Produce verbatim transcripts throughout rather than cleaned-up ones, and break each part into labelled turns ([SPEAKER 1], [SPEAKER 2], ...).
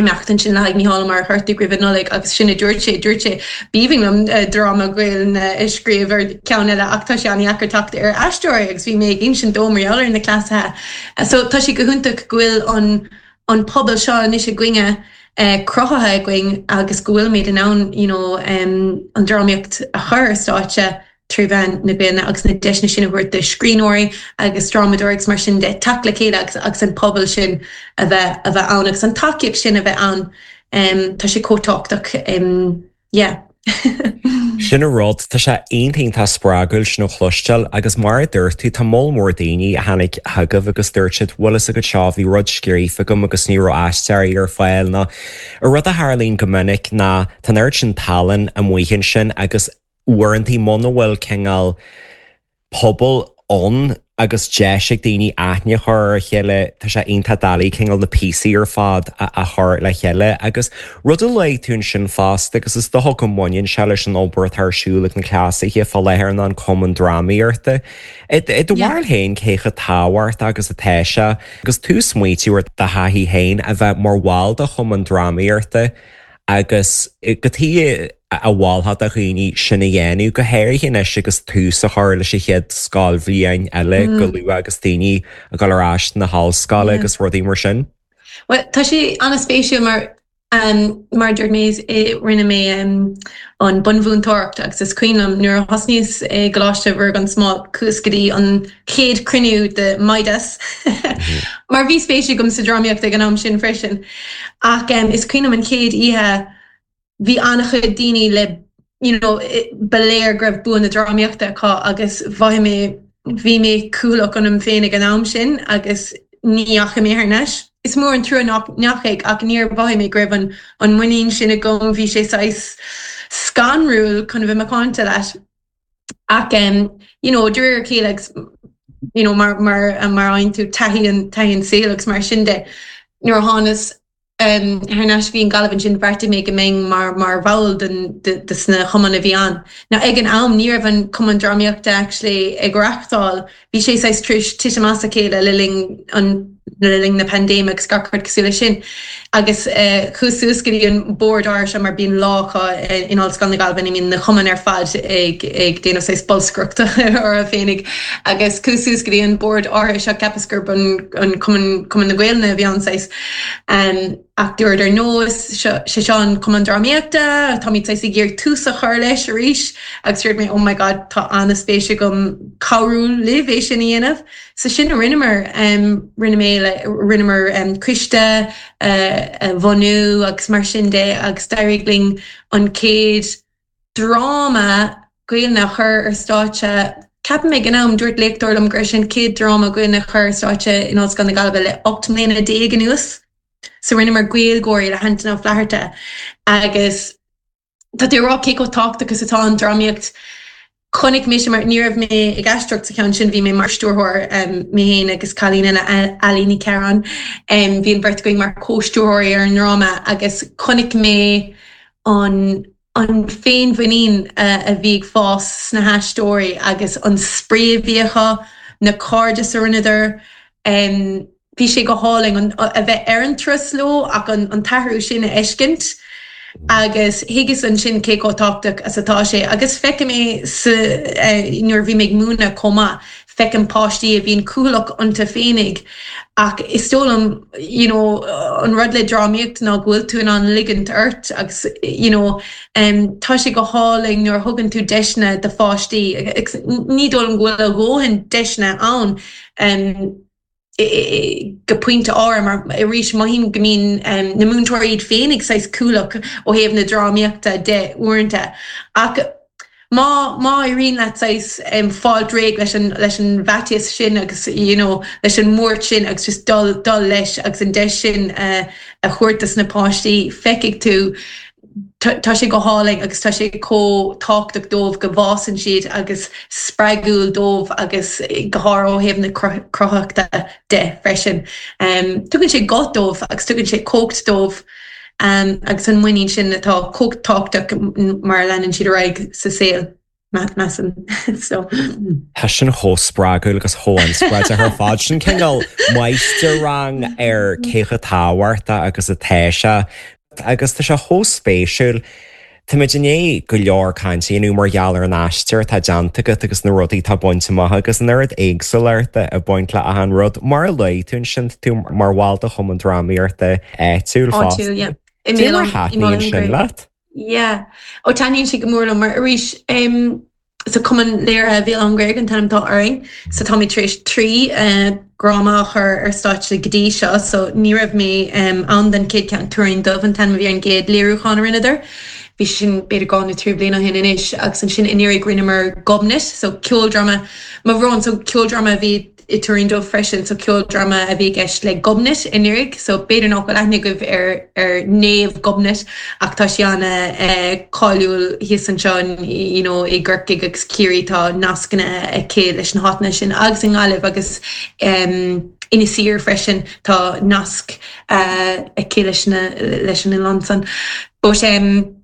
[SPEAKER 1] Imeacht ansin le haghaidh Mícheál Ó Muircheartaigh roimh an Nollaig agus sin a dúirt sé, dúirt sé b'aoibhinn liom dráma Gaelainne a scríobh ar ceann eile ach tá sé an-deacair teacht ar aisteoirí agus bhí mé ag insint dó mar gheall ar na cleasaithe. So tá sé go hiontach go bhfuil an an pobal seo anois againne cruthaithe againn agus go bhfuilimid in ann you know, um, an drámaíocht a chur ar stáitse trí mheán na Gaeilge agus na deiseanna sin a thabhairt do scríbhneoirí agus drámadóirí agus mar sin de teacht le chéile agus agus an pobal sin a bheith a bheith ann agus an tacaíocht sin a bheith ann um, tá sé chomh tábhachtach um, yeah.
[SPEAKER 2] Sin an rud tá sé iontach spreagúil sin a chloisteáil agus mar a dúirt tú tá moll mór daoine a tháinig chugaibh agus dúirt siad bhfuil a fhios agat seo bhí rud scríofa agam agus ní raibh aisteoirí ar fáil ná a rud a tharlaíonn go minic ná tá an oiread sin tallann amuigh ansin agus uaireanta muna bhfuil cineál pobal ann agus deis ag daoine aithne a chur ar a chéile tá sé iontach doiligh cineál na píosaí ar fad a chur le chéile agus rud a luaigh tú ansin fosta agus is dócha go mbaineann sé leis an obair atá ar siúl ag na cleasaithe fá láthair ná an cumann drámaíochta. I do bharúil féin cé chomh tábhachtach agus atá sé agus tú ag smaointiú ar do thaithí féin a bheith mar bhall de chumann drámaíochta agus cad chuige a mholfá do dhaoine sin a dhéanamh go háirithe anois agus tús a chur leis an chéad scoilbhliain eile go luath agus daoine ag dul ar ais na hollscoile agus rudaí mar sin.
[SPEAKER 1] Well tá sé an-spéisiúil mar um, mar dúirt mé rinne mé um, an bunmhúinteoireacht agus is cuimhin liom nuair a thosnaíos i gColáiste Mhuire gan Smál chuas go dtí an chéad cruinniú de Midas mar bhí spéis agam sa drámaíocht ag an am sin freisin ach um, is cuimhin liom an chéad oíche bhí an-chuid daoine le you know, ba léir go raibh bua na drámaíochta acu agus bhí mé bhí mé cúlach ionam féin ag an am sin agus ní dheachaigh mé thar n-ais. Is mór an trua nach ndeachaigh ach níor mhothaigh mé go raibh an an muinín sin agam bhí sé saghas scanrúil chun a bheith macánta leis. Ach um, you know, de réir a chéile agus you know, mar mar mar fhaigheann tú taithí an taithí an saol agus mar sin de nuair a thánas um, thar n-ais go Gaillimh ansin bheartaigh mé go mbeinn mar mar bhall den de, de sna cumainn a bhí ann. Now ag an am ní raibh an cumann drámaíochta actually ag reáchtáil, bhí sé saghas tar éis titim as a chéile le linn an le linn na paindéime agus gach rud cosúil leis sin. Agus uh, chuas suas go dtí an bord áir seo mar bíonn lá acu in Ollscoil na Gaillimhe mbíonn na cumainn ar fad ag ag déanamh saghas bolscaireachta orthu féinig agus chuas suas go dtí an bord áir seo ceapas gurb an an cumann cumann na Gaeilge a bhí ann saghas. Um, ach dúirt ar nós sé seo an cumann drámaíochta, Táimid saghas ag iarraidh tús a chur leis arís agus dúirt mé oh my god tá an-spéis agam cabhrú libh é sin a dhéanamh. So sin a rinneamar um, rinne mé le rinneamar um, coiste uh, a bhunú agus mar sin de agus d'éirigh linn an chéad dráma Gaeilge a chur ar stáitse Ceapaim ag an am dúirt léachtóir liom gur sin chéad dráma Gaeilge a chur ar stáitse in Ollscoil na Gaillimhe le ocht mbliana déag anuas. So rinneamar Gaeilgeoirí le hAntain Ó Flatharta agus tá tú rá cé chomh tábhachtach agus atá an drámaíocht chonaic mé mar ní raibh mé ag aisteoireacht sa cheann sin bhí mé mar stiúrthóir um, mé féin agus cailín eile Ailíní Cearán um, bhí an bheirt againn mar chomhstiúrthóirí ar an dráma agus chonaic mé an an féinmhuinín uh, a bhí ag fás sna haisteoirí agus an spraoi a bhí acu na cairde a rinneadar um, bhí sé go hálainn a bheith ar an turas leo ach an, an t-athrú sin a fheiscint. agus thuigeas ansin cé chomh tábhachtach is atá sé agus feicim é eh, nuair bhí mé ag múineadh chomh maith feicim páistí a bhíonn cúthalach iontu féinig ach is dóigh liom you know, an rud le drámaíocht ná go bhfuil tú in ann ligint ort agus you know, um, tá sé go hálainn nuair thugann tú deiseanna do pháistí ní dóigh liom go bhfuil a dhóthain deiseanna ann um, go pointe áirithe mar arís mothaím go mbíonn um, na múinteoirí iad féin ag saghas cúthalach ó thaobh na drámaíochta de uaireanta ach má má éiríonn leat saghas um, fáil réidh leis an leis an bhfaitíos sin agus you know, leis an mbuairt sin agus just dul dul leis agus an deis sin uh, a thabhairt dos na páistí feicfidh tú tá sé go hálainn agus tá sé chomh tábhachtach dóibh go bhfásann siad agus spreagúil dóibh agus go háirithe ó thaobh na cruthaitheachta de freisin. Um, tugann sé guth dóibh agus tugann sé cumhacht dóibh um, agus an muinín sin atá chomh tábhachtach mar leanann siad ar aghaidh sa saol. Measaim so.
[SPEAKER 2] Tá sin chomh spreagúil agus chomh inspioráideach ar fad sin cineál máistir-rang ar cé chomh tábhachtach agus atá sé agus tá sé chomh spéisiúil. Táimid i ndiaidh go leor cainte a dhéanamh mar gheall ar an aistear atá déanta agat agus na rudaí atá bainte amach agus an oiread éagsúlachta ag baint le achan rud. Mar a luaigh tú ansin, tá tú mar bhall de Chumann Drámaíochta áitiúil fosta.
[SPEAKER 1] Áitiúil, yeah.
[SPEAKER 2] Cé mar a thaitníonn sin leat?
[SPEAKER 1] Yeah. Ó taitníonn sé go mór liom mar arís um, so Cumann Léirithe Bhéal Átha an Ghaorthaidh an t-ainm atá orainn, so táimid tar éis trí uh, dhráma a chur ar stáitse go dtí seo, so ní raibh mé um, ann den chéad cheann Tuairín Dubh an t-ainm a bhí ar an gcéad léiriúchán a rinneadar. Bhí sin b'fhéidir dhá nó trí bliana ó shin anois agus ansin anuraidh rinneamar Gobnait, so ceoldráma mo bhrón, so ceoldráma a bhí i Tuairín Dubh freisin, so ceoldráma a bhí i gceist le Gobnait anuraidh, so b'fhéidir nach bhfuil aithne agaibh ar ar Naomh Gobnait ach tá sí ana eh, cáiliúil thíos anseo you know, i gCorcaigh agus Ciarraí tá nascanna aici leis na háiteanna sin agus i nGaillimh agus um, Inis Oírr freisin tá nasc uh, aici leis na leis an oileán san. But um,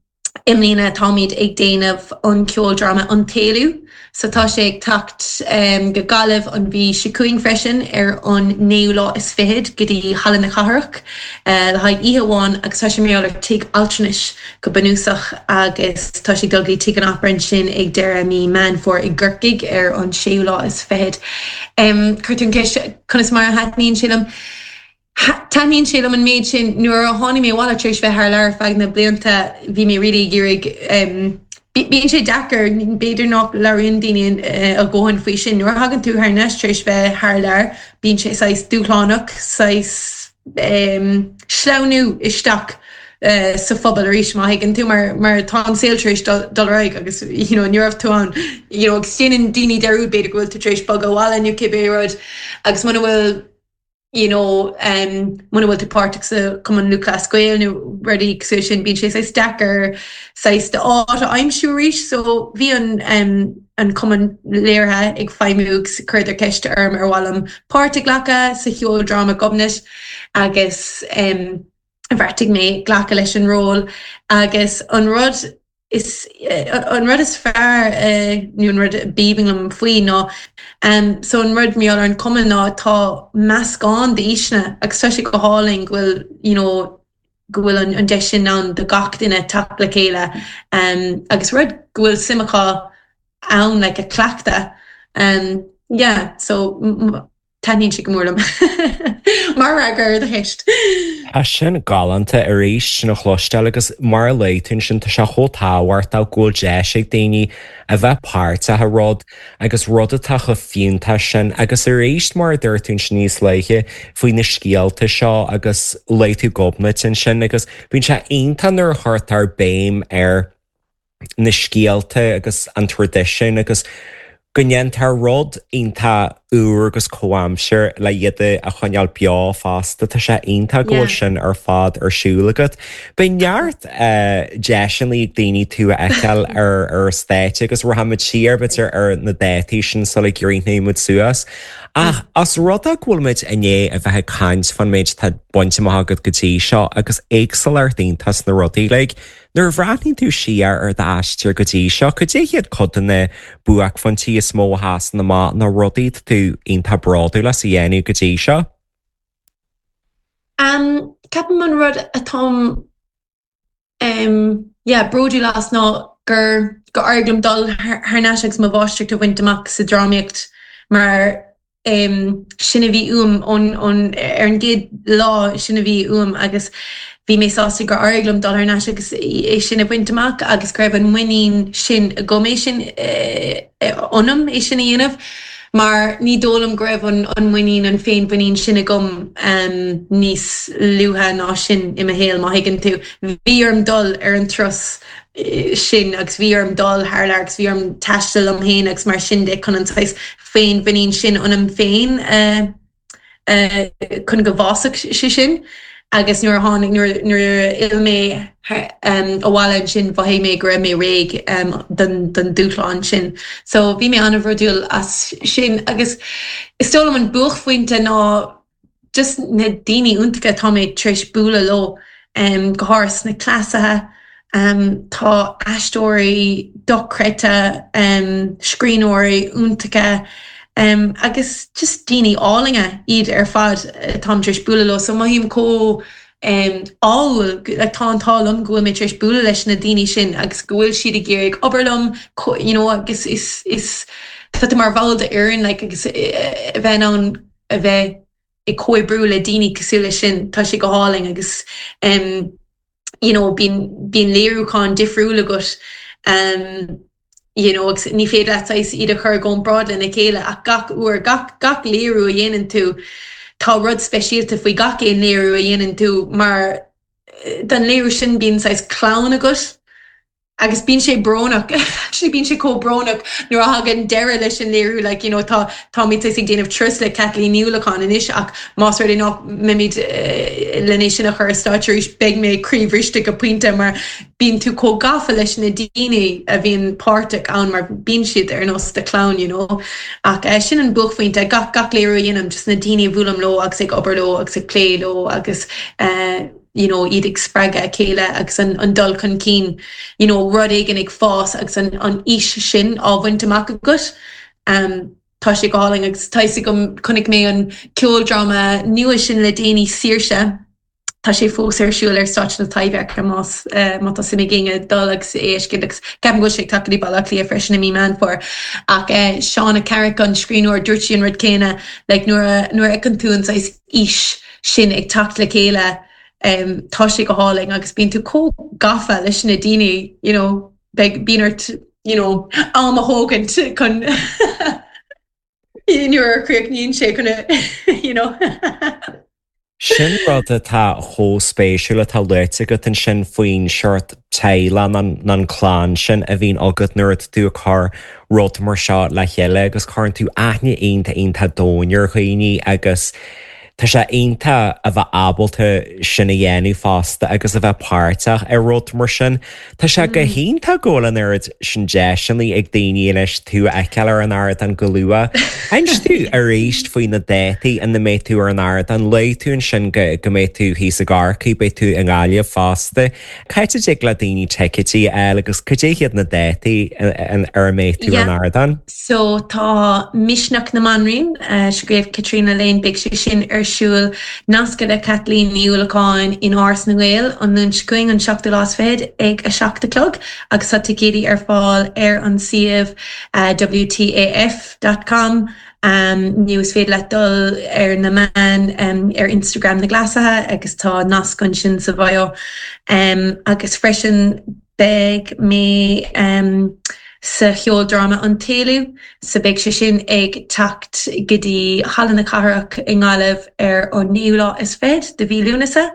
[SPEAKER 1] I mbliana táimid ag déanamh an ceoldráma an tÉalú, so tá sé ag teacht um, go Gaillimh an mhí seo chugainn freisin ar an naoú lá is fichead go dtí Halla na Cathrach uh, le haghaidh oíche amháin agus tá sé mar ar tigh altranais go bunúsach agus tá sé dul go Tigh an Opera ansin ag deireadh mí Meán Fómhair i gCorcaigh ar an séú lá is fichead. Um, Chuir tú an ceist conas mar a thaitníonn sé liom. Taitníonn sé liom an méid sin nuair a tháinig mé abhaile tar éis bheith thar lear feadh na blianta bhí mé really ag iarraidh um, Bíonn sé deacair b'fhéidir nach labhraíonn daoine a dhóthain faoi sin. Nuair a thagann tú thar n-ais tar éis bheith thar lear, bíonn sé saghas dúshlánach saghas um, sleamhnú isteach uh, sa phobal arís má thuigeann tú mar mar tá an saol tar éis dul ar aghaidh agus you know, ní raibh tú ann you know, agus déanann daoine dearúd b'fhéidir go bhfuil tú tar éis bogadh abhaile nó cibé rud agus muna bhfuil you know, um, muna bhfuil tú páirteach sa Cumann Lúthchleas Gael nó rudaí cosúil sin bíonn sé saghas deacair saghas d'áit a aimsiú arís, so bhí an um, an cumann léirithe ag feidhmiú agus chuireadar ceist orm ar mhaith liom páirt a ghlacadh sa cheoldráma Gobnait agus um, bheartaigh mé glacadh leis an ról agus an rud is an rud is fearr nó an rud b'aoibhinn liom faoi ná um, so an rud mar an cumann ná tá meascán d'aoiseanna agus tá sé go hálainn go bhfuil you know, go bhfuil an, an deis sin ann do gach duine teacht le chéile um, agus rud go bhfuil suim acu ann like, a chleachtadh. Um, yeah, so taitníonn sé go mór liom mar fhreagra ar do cheist.
[SPEAKER 2] Tá sin galánta arís sin a chloisteáil agus mar a luaigh tú sin tá sé chomh tábhachtach go bhfuil deis ag daoine a bheith páirteach i rud agus rud atá chomh fiúntach sin agus arís mar a dúirt tú ansin níos luaithe faoi na scéalta seo agus luaigh tú Gobnait ansin agus bíonn sé iontach nuair a chuirtear béim ar na scéalta agus an traidisiún agus go ndéantar rud iontach úr agus comhaimseartha le iad a choinneáil beo fosta tá sé iontach go bhfuil sin ar fad ar siúl agat. Beidh neart uh, deiseanna ag daoine tú a fheiceáil ar ar stáitse agus rachaimid siar b'fhéidir ar na dátaí sin sula gcríochnóimid suas. Ach as rud é go bhfuil muid i ndiaidh a bheith ag caint faoin méid atá bainte amach agat go dtí seo agus éagsúlacht iontach sna rudaí like, Nuair a bhreathnaíonn tú siar ar d'aistear go dtí seo, cad é hiad cuid de na buaicphointí is mó a sheasann amach na rudaí tú iontach bródúil as a dhéanamh go dtí seo?
[SPEAKER 1] Um, ceapaim an rud atáim um, yeah, bródúil as ná gur gur éirigh liom dul thar n-ais agus mo mháistreacht a bhaint amach sa drámaíocht mar um, sin a bhí uaim ón, ón, ar an gcéad lá sin a bhí uaim agus bhí mé sásta gur éirigh liom dul thar n-ais agus é sin a bhaint amach agus go raibh an muinín sin agam é sin ionam é sin a dhéanamh. Mar ní dóigh liom go raibh an, an muinín an féinmhuinín sin agam um, níos luaithe ná sin i mo shaol má thuigeann tú. Bhí orm dul ar an turas sin agus bhí orm dul thar lear agus bhí orm taisteal liom féin agus mar sin de chun an saghas féinmhuinín sin ionam féin uh, uh, chun go bhfásfadh sé sin. agus nuair a tháinig nuair a d'fhill mé um, abhaile ansin mhothaigh mé go raibh mé réidh um, don, don dúshlán sin. So bhí mé an-bhródúil as sin agus is dóigh liom an buaicphointe ná just na daoine iontacha atá mé tar éis bualadh leo um, go háirithe na cleasaithe Um, tá aisteoirí dochreidte um, scríbhneoirí iontacha um, agus just daoine álainne iad ar fad táim tar éis bualadh leo so mothaím chomh um, ádhúil like, tá an t-ádh liom go bhfuil mé tar éis bualadh leis na daoine sin agus go bhfuil siad ag iarraidh obair liom you know, agus is is tá tú mar bhall de fhoireann like, agus eh, a bheith ann a bheith ag comhoibriú le daoine cosúil leis sin tá sé go hálainn agus um, you know, bíonn bíonn léiriúchán difriúil agat um, you know, agus ní féidir leat iad a chur i gcomparáid lena chéile ach gach uair gach gach léiriú a dhéanann tú tá rud speisialta faoi gach aon léiriú a dhéanann tú mar eh, don léiriú sin bíonn saghas clann agat agus bíonn sé brónach actually bíonn sé chomh brónach nuair a thagann deireadh leis an léiriú like, you know, tá táimid ag déanamh turas le Caitlín Ní Uallacháin anois ach más rud é nach mbeimid uh, lena sin a chur stáitse arís beidh mé croíbhriste go pointe mar bíonn tú chomh gafa leis na daoine a bhíonn páirteach ann mar bíonn siad ar nós do chlann you know. ach uh, sin an buaicphointe gach gach léiriú a dhéanaim just na daoine a bhuailim leo agus ag obair leo agus ag plé leo agus uh, you know, iad ag spreagadh a chéile agus an, an dul chun cinn you know, rud éigin ag fás agus an, an fhís sin á bhaint amach agat. Um, tá sé go hálainn agus tá go chonaic mé an ceoldráma nua sin le déanaí Saoirse. Tá sé fós ar siúl ar stáitse na Taibhdheirce más uh, má tá suim ag éinne dul agus éiscin agus ceapaim go sé tacaí bailá lia freisin i mí Meán Fómhair ach uh, Shauna Carrick an scríbhneoir dúirt sí an rud céanna like, nuair nuair a fheiceann tú an saghas fhís sin ag teacht le chéile um, tá sé go hálainn agus bíonn tú chomh gafa leis na daoine you know, beidh bíonn ort you know, am a thógaint chun nuair a chríochnaíonn sé chun you know.
[SPEAKER 2] Sin rud atá chomh spéisiúil atá luaite agat ansin faoin seort teaghlach an an clann sin a bhíonn agat nuair atá tú ag cur rud mar seo le chéile agus cuireann tú aithne iontach iontach domhain ar dhaoine agus Tá sé iontach a bheith ábalta sin a dhéanamh fosta agus a bheith páirteach ar rud mar sin. Tá sé go hiontach go bhfuil an oiread sin deiseanna ag daoine anois tú a fheiceáil ar an ardán go luath. Inis tú arís faoi na dátaí ina mbeidh tú ar an ardán luaigh tú ansin go go mbeidh tú thíos i gCorcaigh, beidh tú i nGaillimh fosta. Cá dtig le daoine ticéidí a fháil agus cad é hiad na dátaí ar a mbeidh tú ar an ardán?
[SPEAKER 1] So tá Misneach na mBanríon uh, scríobh Caitríona Lane beidh sé sin ar siúl nasctha le Caitlín Ní Uallacháin in Áras na nGael an Luan seo chugainn an seachtú lá is fiche ag a seacht a chlog agus tá ticéidí ar fáil ar an suíomh uh, WTAF.com um, nó is féidir leat dul ar na meáin um, ar Instagram na Glasaithe agus tá nasc ansin sa bhio um, agus freisin beidh mé um, sa cheoldráma an tÉalú, so beidh sé sin ag teacht go dtí Halla na Cathrach i nGaillimh ar an naoú lá is fiche de mhí Lúnasa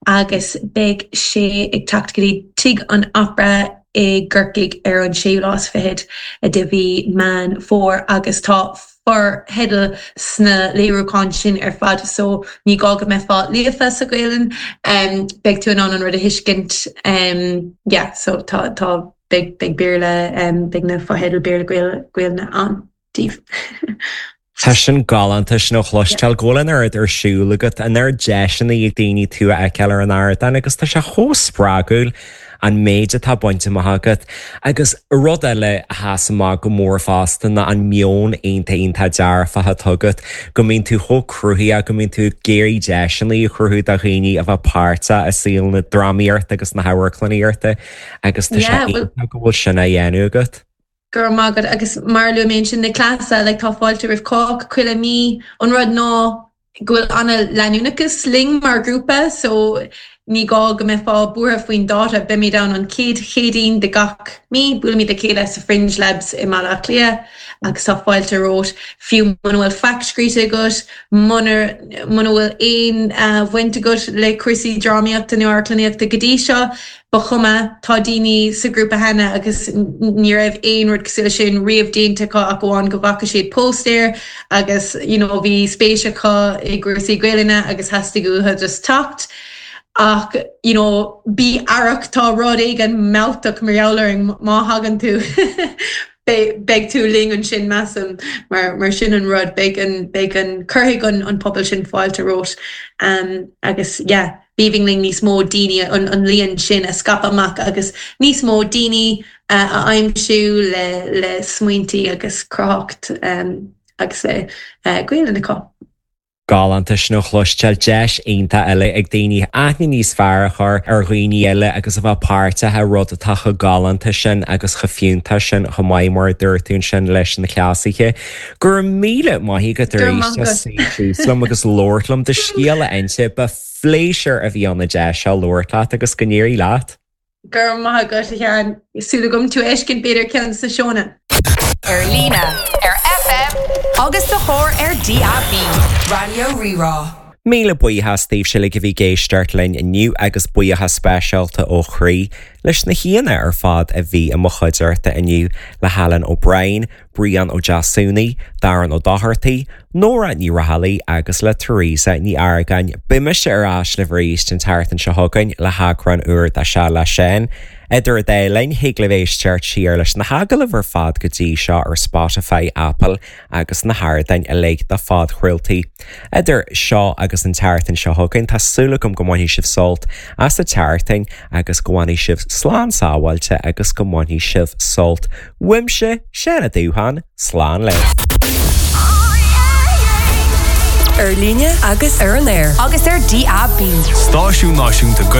[SPEAKER 1] agus beidh sé ag teacht go dtí Tigh an Opera i gCorcaigh ar an séú lá is fiche de mhí Meán Fómhair agus tá fotheidil sna léiriúcháin sin ar fad so ní gá go mbeifeá líofa sa Ghaelainn um, beidh tú in ann an rud a thuiscint um, yeah, so tá tá beidh beidh Béarla um, beidh na fotheidil Béarla Gaeilge ann daoibh.
[SPEAKER 2] Tá sin galánta sin a chloisteáil go bhfuil an oiread ar siúl agat an oiread deiseanna ag daoine tú a fheiceáil ar an ardán agus tá sé chomh spreagúil an méid atá bainte amach agat agus rud eile a sheas amach go mór fosta ná an meon iontach iontach dearfach atá agat go mbíonn tú chomh cruthaitheach go mbíonn tú ag iarraidh deiseanna a chruthú do dhaoine a bheith páirteach i saol na drámaíochta agus na hamharclannaíochta agus tá sé iontach go bhfuil sin á dhéanamh agat.
[SPEAKER 1] Gur mágad agus mar lu mé sin na cleasa le tá fáilte roimh cách chuile mí an rud ná go bhfuil an-leanúnachas linn mar grúpa so ní gá go mbeifeá buartha faoin dáta beimid ann an chéad Chéadaoin de gach mí buailimid le chéile sa Fringe Labs i mBaile Átha Cliath agus tá fáilte romhat fiú muna bhfuil faic scríte agat muna muna bhfuil aon uh, bhaint agat le cúrsaí drámaíochta nó amharclannaíochta go dtí seo ba chuma tá daoine sa grúpa cheana agus ní raibh aon rud cosúil sin riamh déanta acu ach amháin go bhfaca siad póstaer agus you know, bhí spéis acu i gcúrsaí Gaelainne agus theastaigh uathu just teacht. ach you know, bí aireach tá rud éigin mealltach mar gheall orainn má thagann tú beidh tú linn ansin measaim mar mar sin an rud beidh an beidh an cuirfidh an an pobal sin fáilte romhat um, agus yeah, B'aoibhinn linn níos mó daoine an an líon sin a scaipeadh amach agus níos mó daoine a aimsiú le le smaointí agus cruthaitheacht agus le Gaelainn acu.
[SPEAKER 2] Galánta sin a chloisteáil deis iontach eile ag daoine aithne níos fearr a chur ar dhaoine eile agus a bheith páirteach i rud atá chomh galánta sin agus chomh fiúntach sin chomh maith mar a dúirt tú ansin leis na cleasaithe. Go raibh míle maith agat arís as suí síos liom agus labhairt liom do scéal a inse. Ba phléisiúr a bhí ann an deis seo labhairt leat agus go n-éirí leat.
[SPEAKER 1] Go raibh maith agat, a Sheáin. Súil agam tú a fheiscint b'fhéidir ceann de na seónna.
[SPEAKER 3] Ar líne, ar FM agus sa charr ar DAB, Raidió Rí-Rá.
[SPEAKER 2] Míle buíochas daoibhse uilig a bhí ag éisteacht linn inniu agus buíochas speisialta ó chroí leis na haíonna ar fad a bhí i mo chuideachta inniu, le hAlan O'Brien, Brian Ó Deasúnaí, Darren Ó Dochartaigh, Nóra Ní Raghallaigh agus le Teresa Ní Argáin. Beidh mise ar ais libh arís an tseachtain seo chugainn le heagrán úr de Seal le Seán. Idir an dá linn, thig libh éisteacht siar leis na hagallaimh ar fad go dtí seo ar Spotify, Apple agus na hardáin uilig do phodchraoltaí. Idir seo agus an tseachtain seo chugainn, tá súil agam go mbainfidh sibh sult as an tseachtain agus go bhfanfaidh sibh slán sábháilte agus go mbainfidh sibh sult uaimse, Seán Ó Dubhchon, slán libh.
[SPEAKER 3] Ar líne agus ar an aer. Agus ar DAB.
[SPEAKER 4] Stáisiún Náisiúnta Gaeilge.